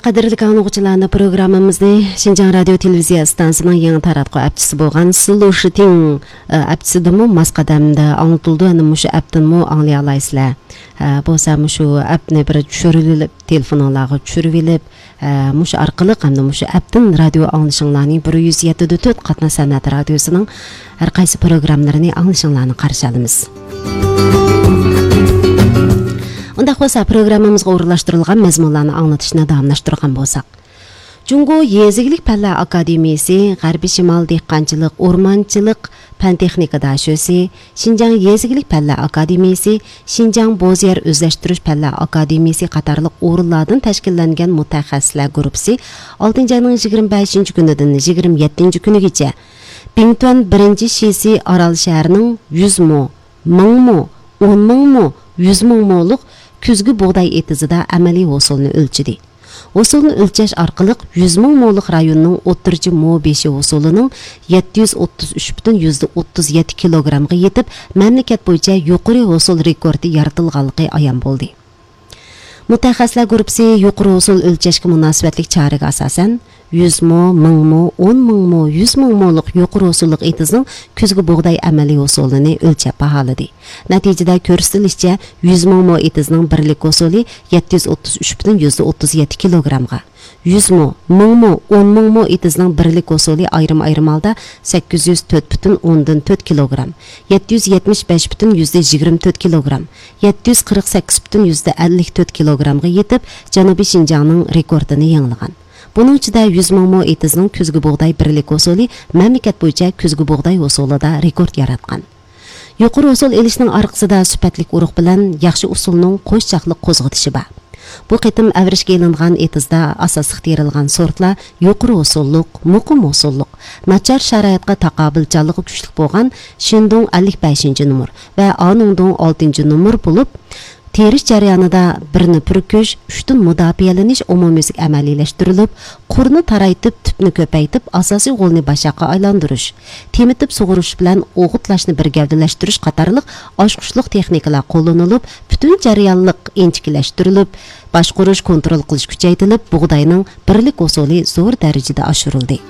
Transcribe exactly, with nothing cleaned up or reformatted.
قەدىرلىك ئاڭلىغۇچىلارنى، پروگراممىمىزنى شىنجاڭ رادىيو تېلېۋىزىيە ئىستانسىسىنىڭ يېڭى تاراتقۇ ئەپچىسى بولغان سلوشىتىڭ، ئە، ئەپچىسىدىمۇ ماس قەدەمدە ئاڭلىتىلىدۇ. ئەنە مۇشۇ ئەپتىنمۇ ئاڭلىيالايسىلەر. ئە، بولسا مۇشۇ ئەپنى بىر چۈشۈرۈۋېلىپ، تېلېفونۇڭلارغا چۈشۈرۈۋېلىپ، ئە، مۇشۇ ئارقىلىق ھەمدە مۇشۇ ئەپتىن رادىيو ئاڭلىشىڭلارنى بىر يۈز يەتتە دە تۆت قاتناش سەنئەت رادىيوسىنىڭ ھەر قايسى پروگراممىلىرىنى ئاڭلىشىڭلارنى قارشى ئالىمىز. ئۇنداق بولسا، پروگراممىمىزغا ئورۇنلاشتۇرۇلغان مەزمۇنلارنى ئاڭلىتىشنى داۋاملاشتۇرغان بولساق، جۇڭگو يېزا ئىگىلىك پەنلەر ئاكادېمىيىسى، غەربىي شىمال دېھقانچىلىق، ئورمانچىلىق پەن تېخنىكا داشۆسى، شىنجاڭ يېزا ئىگىلىك پەنلەر ئاكادېمىيىسى، شىنجاڭ بوز يەر ئۆزلەشتۈرۈش پەنلەر ئاكادېمىيىسى قاتارلىق ئورۇنلاردىن تەشكىللەنگەن مۇتەخەسسىسلەر گۇرۇپپىسى ئالتىنچى ئاينىڭ يىگىرمە بەشىنچى كۈنىدىن يىگىرمە يەتتىنچى كۈنىگىچە بىڭتۈەن بىرىنچى شىسى ئارال شەھىرىنىڭ يۈز مو، مىڭ مو، ئون مىڭ مو، يۈز مىڭ مولۇق كۈزگى بۇغداي ئېتىزىدا ئەمەلىي ھوسۇلنى ئۆلچىدى. ھوسۇلنى ئۆلچەش ئارقىلىق يۈز مىڭ مولۇق رايوننىڭ ئوتتۇرىچە مو بېشى ھوسۇلىنىڭ يەتتە يۈز ئوتتۇز ئۈچ پۈتۈن يۈزدە ئوتتۇز يەتتە كىلوگرامغا يېتىپ، مەملىكەت بويىچە يۇقىرى ھوسۇل رېكورتى يارىتىلغانلىقى ئايان بولدى. مۇتەخەسسىسلەر گۇرۇپپىسى يۇقىرى ھوسۇل ئۆلچەشكە مۇناسىۋەتلىك چارىگە ئاساسەن، يۈز مو، مىڭ مو، ئون مىڭ مو، يۈز مىڭ مولۇق يۇقىرى ھوسۇللۇق ئېتىزنىڭ كۈزگى بۇغداي ئەمەلىي ھوسۇلىنى ئۆلچەپ باھالىدى. نەتىجىدە كۆرسىتىلىشىچە، يۈز مىڭ مو ئېتىزنىڭ بىرلىك ھوسۇلى يەتتە يۈز ئوتتۇز ئۈچ پۈتۈن يۈزدە ئوتتۇز يەتتە كىلوگرامغا، يۈز مو، مىڭ مو، ئون مىڭ مو ئېتىزنىڭ بىرلىك ھوسۇلى ئايرىم-ئايرىم ھالدا سەككىز يۈز تۆت پۈتۈن ئوندىن تۆت كىلوگرام، يەتتە يۈز يەتمىش بەش پۈتۈن يۈزدە يىگىرمە تۆت كىلوگرام، يەتتە يۈز قىرىق سەككىز پۈتۈن يۈزدە ئەللىك تۆت كىلوگرامغا يېتىپ، جەنۇبىي شىنجاڭنىڭ رېكورتىنى يېڭىلىغان. بۇنىڭ ئىچىدە يۈز مىڭ مو ئېتىزنىڭ كۈزگى بۇغداي بىرلىك ھوسۇلى مەملىكەت بويىچە كۈزگى بۇغداي ھوسۇلىدا رېكورت ياراتقان. يۇقىرى ھوسۇل ئېلىشنىڭ ئارقىسىدا سۈپەتلىك ئۇرۇق بىلەن ياخشى ئۇسۇلنىڭ قوش چاقلىق قوزغىتىشى بار. بۇ قېتىم ئەۋرىشكە ئېلىنغان ئېتىزدا ئاساسلىق تېرىلغان سورتلار يۇقىرى ھوسۇللۇق، مۇقىم ھوسۇللۇق، ناچار شارائىتقا تاقابىلچانلىقى كۈچلۈك بولغان شىندۇڭ ئەللىك بەشىنچى نومۇر ۋە ئانۇڭدۇڭ ئالتىنچى نومۇر بولۇپ، تېرىش جەريانىدا بىرنى پۈركۈش، ئۈچتىن مۇداپىئەلىنىش ئومۇميۈزلۈك ئەمەلىيلەشتۈرۈلۈپ، قۇرنى تارايتىپ، تۈپنى كۆپەيتىپ، ئاساسىي غولنى باشاققا ئايلاندۇرۇش، تېمىتىپ سۇغۇرۇش بىلەن ئوغۇتلاشنى بىر گەۋدىلەشتۈرۈش قاتارلىق ئاچقۇچلۇق تېخنىكىلار قوللىنىلىپ، پۈتۈن جەريانلىق ئىنچىكىلەشتۈرۈلۈپ، باشقۇرۇش، كونترول قىلىش كۈچەيتىلىپ، بۇغداينىڭ بىرلىك ھوسۇلى زور دەرىجىدە ئاشۇرۇلدى.